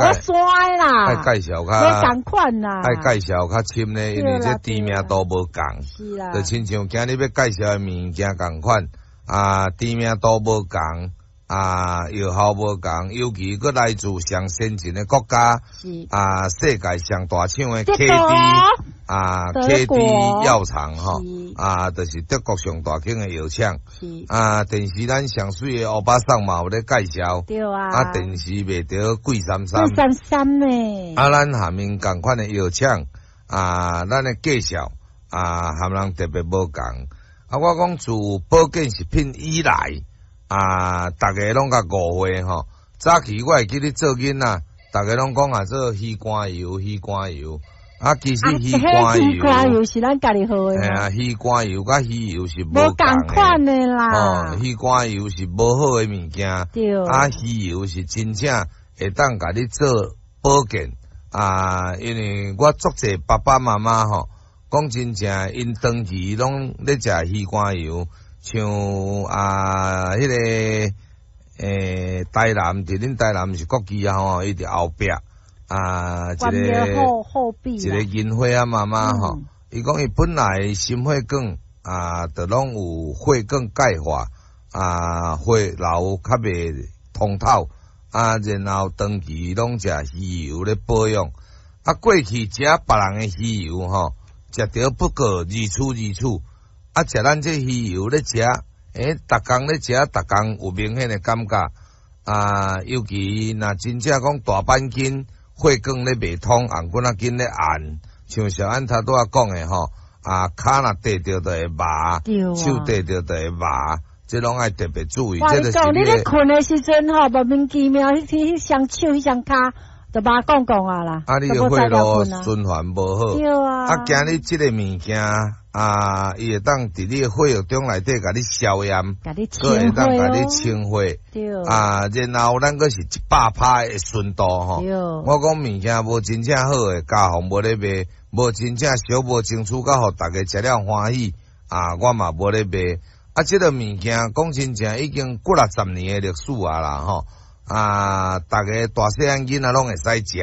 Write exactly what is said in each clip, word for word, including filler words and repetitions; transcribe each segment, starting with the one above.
我酸啦。愛介紹較無仝款啦。愛介紹較深咧，因為這知名度無仝。是啦。就親像今日欲介紹的物件仝款，啊，知名度無仝，啊，藥效無仝，尤其閣來自上先進的國家，啊，世界上大廠的 K D 啊，K D 藥廠吼，啊，就是德國上大間的藥廠，啊，電視咱上媠的歐巴桑嘛有咧介紹，對啊，啊，電視賣著貴三三，貴三三呢，啊，咱下面仝款的藥廠，啊，咱的介紹，啊，和人特別無仝，啊，我講自保健食品以來，啊，逐家攏共誤會吼。早期我會記得做囡仔，逐家攏講啊做魚肝油，魚肝油。啊，其實魚肝油，魚肝油是咱家己喝的。嘿啊，魚肝油佮魚油是無仝款的啦。哦，魚肝油是無好的物件。對。啊，魚油是真正會當共你做保健。啊，因為我足濟爸爸媽媽吼，講真正，𪜶長期攏咧食魚肝油。像啊，彼個欸，台南，佇恁台南是國旗啊吼，伊佇後壁啊，一個一個銀花啊媽媽吼，伊講伊本來心血管啊，就攏有血管鈣化啊，血流較袂通透啊，然後長期攏食魚油咧保養，啊，過去食別人的魚油吼，食著不過如此如此。啊，食咱這魚油咧食，欸，逐工咧食，逐工有明顯的感覺。啊，尤其若真正講大板筋血管咧袂通，紅骨仔筋咧按，像小安頭拄仔講的吼，啊，跤若硩著就會麻，手硩著就會麻，這攏愛特別注意。我你講，你咧睏的時陣吼，莫名其妙，彼彼雙手、彼雙跤就麻摃摃啊啦。啊，你的血路循環無好。對啊。啊，今日這個物件啊，伊會當佇你的血液中內底共你消炎，閣會當共你清血。對。啊，然後咱閣是一百趴的純度吼。對。我講物件無真正好的，家訪無咧賣，無真正俗無爭取到予逐家食了歡喜，啊，我嘛無咧賣。啊，這個物件講真正已經幾若十年的歷史啊啦吼。啊，逐家大細漢囡仔攏會使食。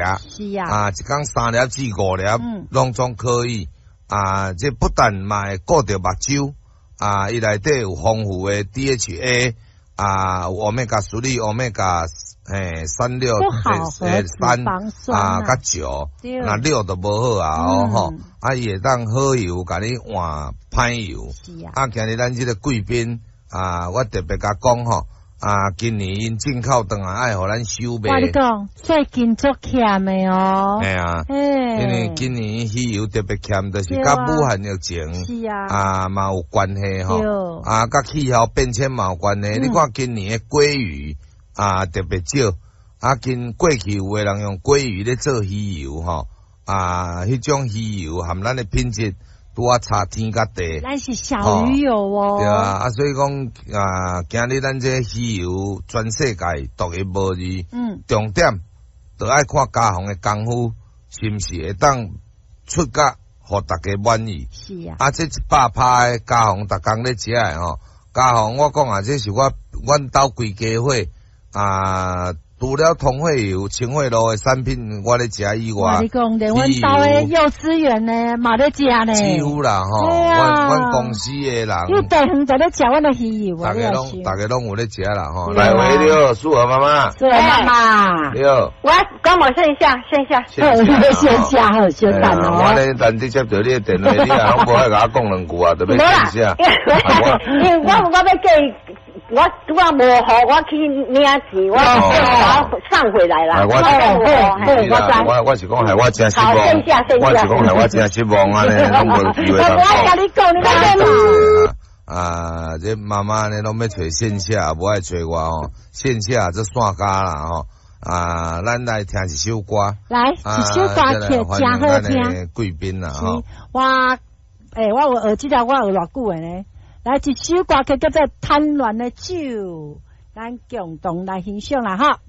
是啊。啊，一工三粒至五粒，攏總可以。啊，這不但嘛會顧著目睭，啊，伊內底有豐富的 D H A，啊，有 Omega three、Omega 嘿三六欸三啊，佮九，若六就無好啊哦吼，啊，伊會當好油，共你換歹油。啊，今日咱這個貴賓啊，我特別共講吼。啊，今年𪜶進口轉來愛予咱收賣。我你講，最近足欠的哦。嘿啊，因為今年魚油特別欠，就是佮武漢疫情是啊，啊嘛有關係吼。啊，佮氣候變遷嘛有關係。你看今年的鮭魚啊特別少，啊，近過去有的人用鮭魚咧做魚油吼，啊，彼種魚油含咱的品質拄仔差天佮地。咱是小魚油哦。對啊，啊，所以講啊，今日咱這魚油全世界獨一無二。嗯。重點，就愛看家訪的功夫是毋是會當出甲予逐家滿意。是啊。啊，這一百趴的家訪逐工咧食的吼，家訪我講啊，這是我阮兜規家伙啊。除了通血油、清血露的產品，我咧食以外，我你講，連阮兜的幼稚園的嘛咧食呢。幾乎啦吼，阮阮公司的人，伊大遠就咧食阮的魚油啊，逐家攏逐家攏有咧食啦吼。來喂，你好，素娥媽媽。素娥媽媽。你好。我講我線下，線下。線下好，小等哦。我咧難得接著你的電話，你也攏無愛共我講兩句啊，就欲線下。因為我我欲過。我拄仔無予，我去領錢，我我送回來啦。我我我是講害我真失望，我是講害我真失望啊！呢，攏無機會通講。我共你講，你講啊，這媽媽呢，攏欲揣線下，無愛揣我吼。線下這散家啦吼。啊，咱來聽一首歌。來，一首歌曲真好聽。貴賓啦吼。我，欸，我有學這條，我學偌久的呢。來一首歌曲叫做《貪戀的酒》，咱共同來欣賞啦，哈。